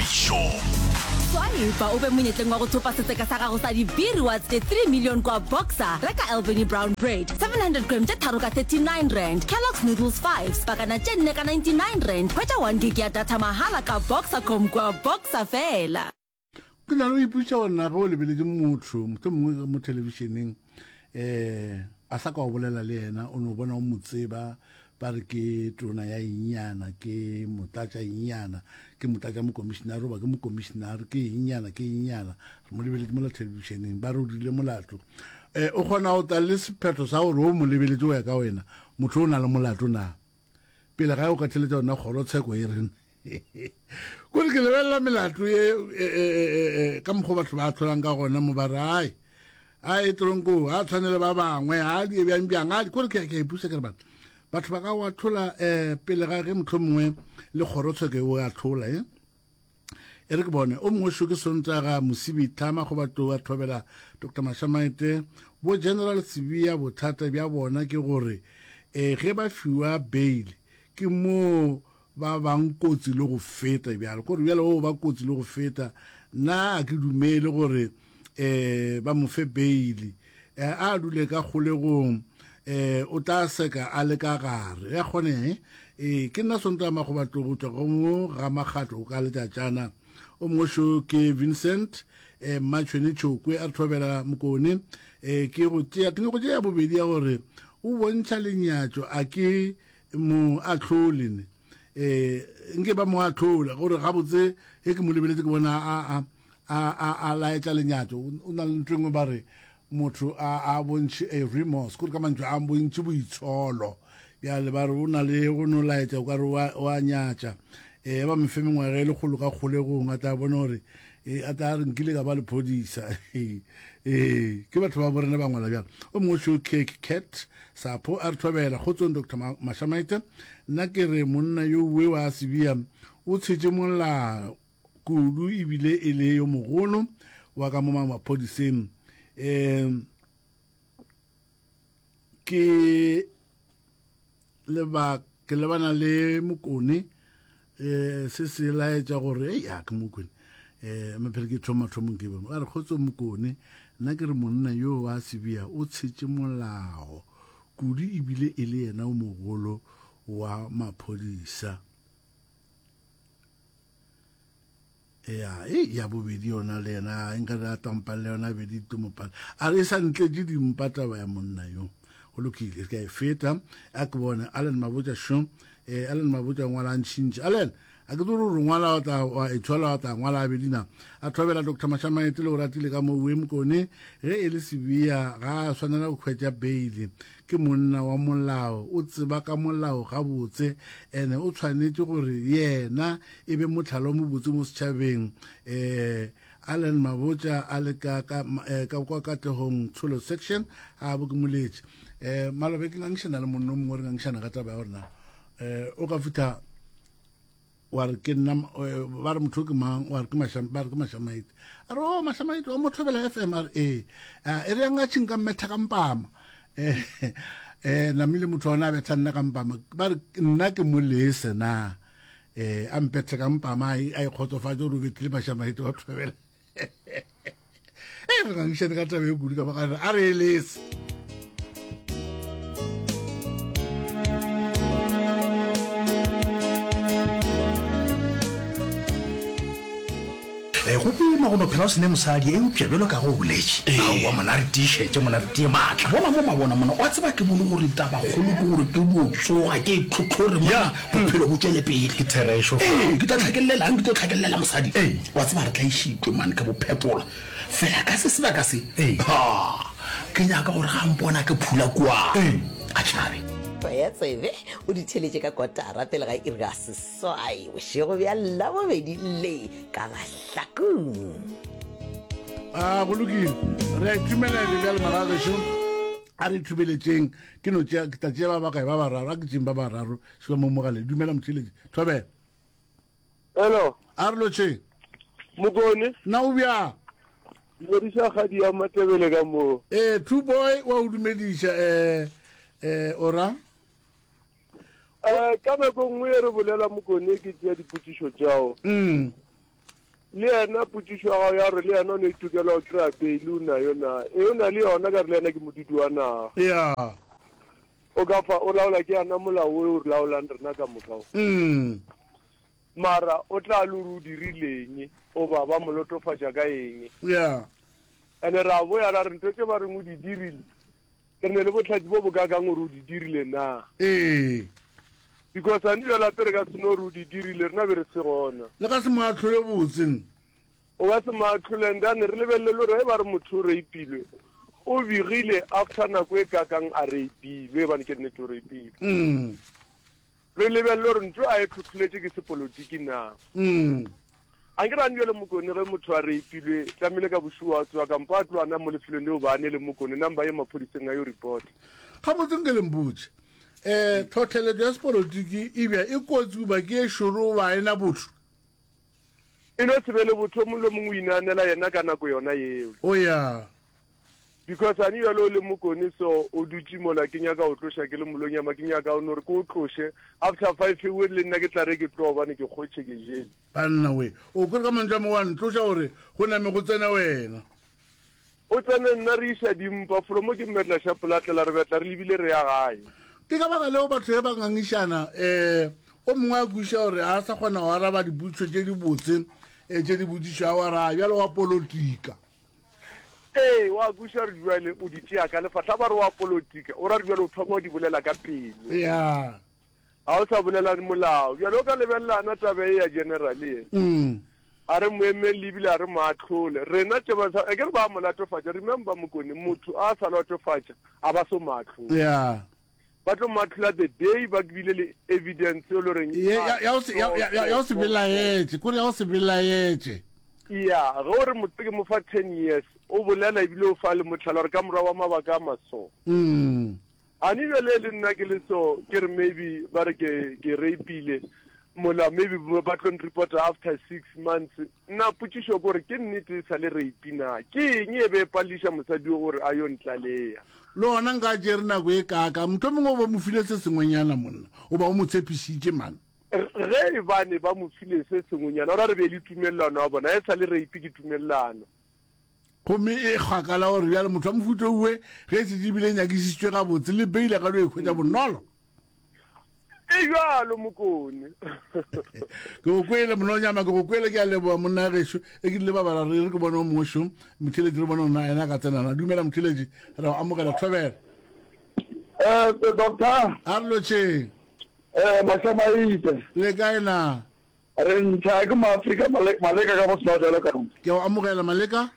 Boithabišo. Swipa o be monyetleng wa go thopa setseka sa gago sa di-B-rewards tše 3 million kwa Boxer. Reka Albany Brown Bread 700 gram tše tharo ka 39 rand, Kellogg's Noodles 5 pakana tše nne ka 99 rand. Hwetša 1 gig ya data mahala ka Boxercom kwa Boxer fela. Ke na le go ipotšiša gore na ge o lebeletše motho mohlomongwe mo thelebišeneng um a sa ka o bolela le yena o no bona o mo tseba ba re ke tona ya engyana ke motlatša engyana ke motlatša mokomišenare goba ke mokomišenare ke engyana ke engyana re mo lebeletše mola thelebišeneng ba re o dirile molato um o kgona go tla le sephetho sa gore o mo lebeletše go ya ka wena motho o na le molato na pele ga o ka theletša yona kgorotsheko e rena kore ke lebelela melato e, e, e, ka mokgwa batho ba tlholang ka gona mo ba re ai a e tronko a tshwanele ba bangwe a di bjang bjang a kore ke ke ipusa ke re batho batho ba ka wa tlhola um pele ga ge motlho mongwe le kgorotsheko e o a tlhola e e re ke bone o mongwe šo ke sontaga mosibi tlhama go batho ba thobela dr mashamaete bo general sebia bothata bja bona ke gore um ge ba fiwa bail ke moo ba bang kotsi le go feta bjalo kore bjalo o ba kotsi le go feta nna a ke dumele gore um ba mo fe bail eh, a dule ka kgolegong eh o tla seka a le ka gare ya kgone eh ke nna sonto ya magobatlo go tswa go mo ga makgatlo o ka letšatšana o mongwe šo ke Vincent eh Mmatšhwene Tšhokwe a re thobela mokone eh ke go tšea ke go tšea bobedi ya gore o bontšha lenyatšo a ke mo ahlole ne eh nke ba mo ahlola gore gabotse ge ke mo lebeletse ke bona a a a a a laetša lenyatšo o na le ntho e nngwe ba re motho a a bontšhe a remorse kore ka mantšu a bontšhe boitsholo bjale ba re o na le go no laetša o ka re wa nyatša um ba mefe mengwaga e lekgolo ka kgolegong a tla bona gore e a tla re nkile ka ba lephodisa ee ke batho ba borena ba ngwala bjalo o mongwe šo cake cat sapho a re thobela kgotsong dr mashamaite nna ke re monna yo uwe wa sebia o tshetše molao kudu ebile e le yo mogolo wa ka mo maphodiseng um ke leba ke lebana le mokone um se se laetša gore ei a ke mokone um maphele ke thoma thomong ke bone a re kgotso mokone nna ke re monna yo wa sebia o tshetše molao kudu ebile e le yena o mogolo wa maphodisa ya e ya bobedi yona le yena nka re a tampang le yona bedi tumopala a re e sa ntletše dimpa taba ya monna yo go lokile ke a e feta a ke bone allen mabotja šo eh, allen mabotja ngwala a ntšhintši allen a ke tsore gore ngwala wa tla wa e thola wa tla ngwala a bedina a thobela dr mashamaete le o ratile ka mo oe mokone ge e le sebia ga a swanela go hwetša beile Ke monna wa molao, o tseba ka molao gabotse, ene o tshwanetše gore yena e be mohlala o mobotse mo setšhabeng. Eh, Allen Mabotja a le ka, ka, eh, ka kwa Katlehong Tsholo Section, a bo ke moletše. Eh, malobe ke ngangišana le monna o mongwe re ngangišana ka taba ya gore na eh, o ka fihla wa re ke nna eh, ba re motho ke mang wa re ke masham ba re ke mashamaite a re o oh, mashamaite o motho bela FM a re ee eh, e re yang a tšhing ka mmetha ka mpama eh eh namile motho ona a betha nna ka mpama ba re nna ke mo lese na eh a mpethe ka mpama a e kgotsofatse gore o betlile mashamaite wa thobela e re ngangišane ka taba e kudu ka baka a re eletse Eh, go boima go no phela o se ne mosadi eupša bjalo ka go boletše aowa mona re tiišetše mona re tie maatla bona mo mabona mona wa tseba ke bone gore tabakgolo ke gore ke dio tsoga ke tlhotlhore mona bophelo bo tšwele pele Ke therešo fa. Ee, ke tlo tlhakellelang ke tlo tlhakellela mosadi Ee. wa tseba re tlaišitšwe mane ka bophetola fela ka se sebaka se Ee. ha ke nyaka gore ga mpona ke phula kua Ee. a tšhabe Tsaya tsebe o di theletše ka kotara pele ga iri ya seswai bošego bja Labobedi le ka Mahlakung. A go lokile re a itumela le bjale magagešo a re ithubeletšeng ke no tšea ke tla tšea ba bakae ba bararo a ke tšeng ba bararo šupa mo mogaleng dumela motheeletši thobela Hello. A re lotšheng. Mokone. Na o bjang? Dumediša kgadi ya Matebele ka moo. Eh, True Boy wa o dumediša eh eh ora. Eh, ka nako nngwe e re bolela Mokone ke tšea dipotšišo tšao. Mm. Le yena potšišo ya gago ya gore le yena o ne tokelo ya go kry-a bail o nayo na? Ee, o na le yona ka re le yena ke modudi wa naga. Ya. O ka fa o laola ke yena molao o o re laolang rena ka moka o. Mm. Mara o tla le gore o dirileng oba ba mo lotofatša ka eng. Ya. Ene ra boya ra re ntho tše ba reng o di dirile re ne le bohlatse bo bo kakang gore o di dirile na? Ee. Because a dilo lape re ka se no re o di dirile rena be re se gona. Le ka se mo ahlole botse. O ka se mo ahlole and then re lebelele le gore ge ba re motho o rapilwe o begile after nako e kakang a rapilwe ebane ke nnete o rapilwe. Mm. Re lebelele gore ntho a e tlhotlholetše ke sepolotiki na. Mm. A nke rane bjale Mokone ge motho a reipilwe tlamehile ka bošego a tsoga kampo a tloa na mo lefelong leo ba ne le Mokone nang ba ye maphodiseng a yo reporta. Gabotse nke le mpotše, um tlhohleletšo ya sepolotiki e bja e kotsi goba ke e šoro goba ga e na botho? E no se be le botho, o mongwe le mongwe o inaanela yena ka nako yona yeo. O ya. Because a ne bjale o le Mokone so o dutše mola ke nyaka o tloša ke le Molonyama ke nyaka o no re ke o tloše after 5 we le nna ke tla re ke tloga gobane ke kgotše ke jele. Banna we, o kwere ka mantšu a mangwe wa ntloša gore go name go tsene wena. O tsene nna re iša dimpa from ke mmetla xa polatlela re betla re lebile re ya gae. Ke ka baka leo batho ge ba ngangišana um o mongwe a kwešiša gore ga a sa kgona go araba dipotšišo tše dibotse um tše di botšišwago a re a bjale wa polotika. Ee, wa kwešiša gore bjale o di tšea ka lefahla ba re wa polotika o ra re bjale o thoma o di bolela ka pelo. Ya. Ga o sa bolela molao. Bjale o ka lebelelana taba e ya general ye. Mm. A re mo emelle ebile a re mo ahlole. Rena tše ba sa, akere ba mo latofatša. Remember Mokone, motho a sa latofatša, a ba so mo ahlole. Yeah. Ba tlo mo ahlola the day ba bile le evidence e le goreng. Ye, ya, ya o se, ya, ya, ya, ya o se belaetše, kore ya o se belaetše. Ya, ge o re motho ke mo fa 10 years, o bolela ebile o fa le mohlala gore ka morago wa mabaka a maso. Mm. A ne bjale le nna ke le so ke re maybe ba re ke ke rapile mola maybe ba tlo nreporta after 6 months nna potšišo ke gore ke nnete e sa le rape na ke eng e be e palediša mosadi o gore a yo ntlalea Le gona nka tšere nako e kaaka mohlomongwe o ba mo file se sengwenyana monna o ba o mo tshepišitše man. Ge e bane ba mo file se sengwenyana o ra re be le tumelelano ya bona e sa le rape ke tumelelano. Gomme e kgakala gore bjale motho wa mohuta owe ge e šetše ebile e nyakišišitšwe gabotse, le beile ga dio e hwetša bonolo. E bjalo, Mokone. Ke go kwele, Mononyama, ke go kwele, ke a leboga, monna gešo. E ke rile ba bala re re ke bone o mongwe šo, Motheeletši re bone gore na yena a ka tsena na. Dumela, Motheeletši, re go amogela, thobela. Eh, doctor. A re lotšheng. Eh, Mahlamaite. Le kae na? Re ntšha ke Maafrika Maleka ka Bosnotelo ka. Ke a o amogela Maleka.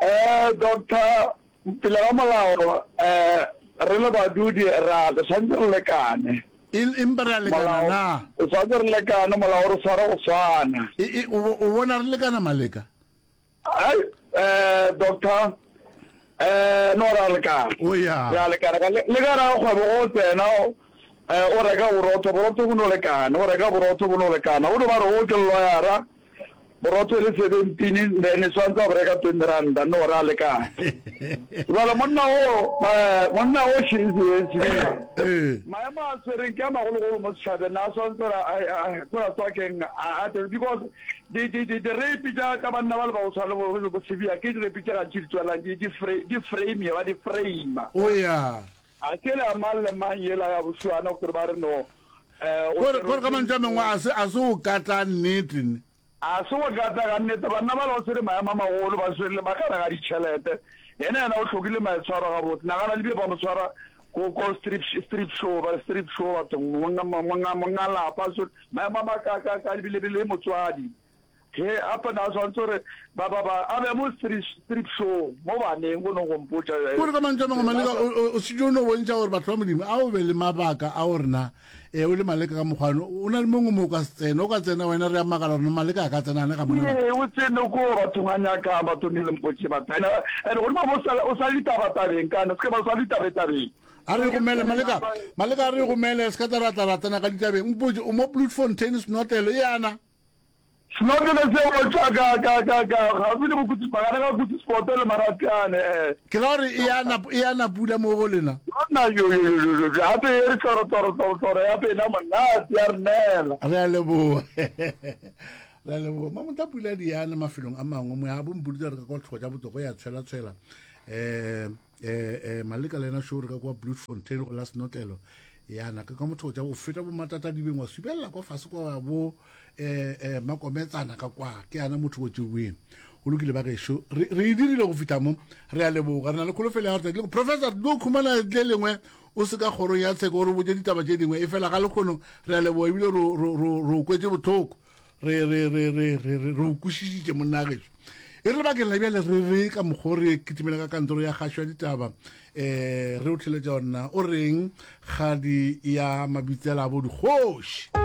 Eh Doctor pele ga molao eh re le badudi ra re tshwanetse re lekane. Empa re a lekana na? O tshwanetse re lekane molao re tshwara go swana. E, e, o bona re lekana Maleka? Ai eh Doctor eh no ra lekana. O ya. Ra lekana ka le ka ra kgwebo go tsena eh o reka borotho borotho bo no lekana o reka borotho bo no lekana o no ba re o ke loyara borotho e le 17 then e tshwanetse a bo reka 20 randa no ra lekana jale monna o eh, monna o eh. maemo a tshwereng ke a magologolo mo setšhabeng na a tshwanetse gore a tswa keng a because Di, di, di, direipi tša, tša banna ba le ba go tshwana le bo, le bo Sibiya, ke direipi tše gantši di tswelang di, di, fra, di frame, ba di frame. O ya. A ke le ya mang le mang yela ya bošuana gore ba re no, eh, o Kore, kore ka mantšu a mangwe a se, a se o kata nnete ne. A se go kata ga nnete, banna ba le ba tshwere maemo a magolo, ba tshwere le makala ga ditšhelete. Yena, yena o hlokile maitshwaro gabotse. Nagana le bile ba mo tshwara ko, ko strip, strip show, ba re strip show bathong, monga, monga, monga lapa, so, Maemo a makaakaakaa ebile be le motswadi ge gape na tshwanetse gore ba ba ba a be mo strip strip show mo baneng go no go mpotša. Kore ka mantšu a mangwe Maleka o šetše o no bontšha gore batho ba Modimo a o be le mabaka a gore na e o le Maleka ka mokgwano o na le mongwe mo o ka se tsene o ka tsena wena re a makala gore Maleka a ka tsena ane ga monna. Ee o tsene ko bathong a nyakang bathong le mpotše batho ene ene godimo mo o sa le ditaba tabeng kana se ke ba sa le ditabe tabeng. A re gomele, Maleka, Maleka a re gomele, se ka tla ra tla ra tsena ka ditabeng. Mpotše, o mo Bloemfontein, senotlelo, e ana? Senotlelo se o tšwa ka, ka, ka, ka, gaufi le Bokutsi, magareng ga Kutsi-Sport le Marapyane, eh. Ke ra gore e ana, e ana pula mo go lena? Yona, yo, yo, yo, yo, yo, gape e re tloro, tloro, tloro, tloro, ya pena monate, ya re nela. Re a leboga. Ra leboga. Mamotla pula di yana mafelong a mangwe moya bo mpoditse re ka kwa tlhogo tša botoko ya tshwela-tshwela. Um eh eh maleka le yena show re ka kwa Bloemfontein go la senotlelo yana ka kwa motho tša go feta bo matata dibeng wa subelela kwa fase kwa bo eh eh makometsana ka kwa ke yana motho go tšeweng go lokile ba gešo re re e dirile go fihla mo re a leboga re na le kholofelo ya gore tsatsi le professor tlo khumana le lengwe o se ka kgorong ya tsheko o re botse ditaba tše dingwe e fela ga lekgono re a leboga ebile ro kwetse bohloko re re re re re re o kwešišitše monna gešo e re lebakeng la bjale re re ka mokgwa re kitimela ka kantoro ya kgašo ya ditaba um re o theletša gonna o reng kgadi ya mabitsela a bo dikgoši.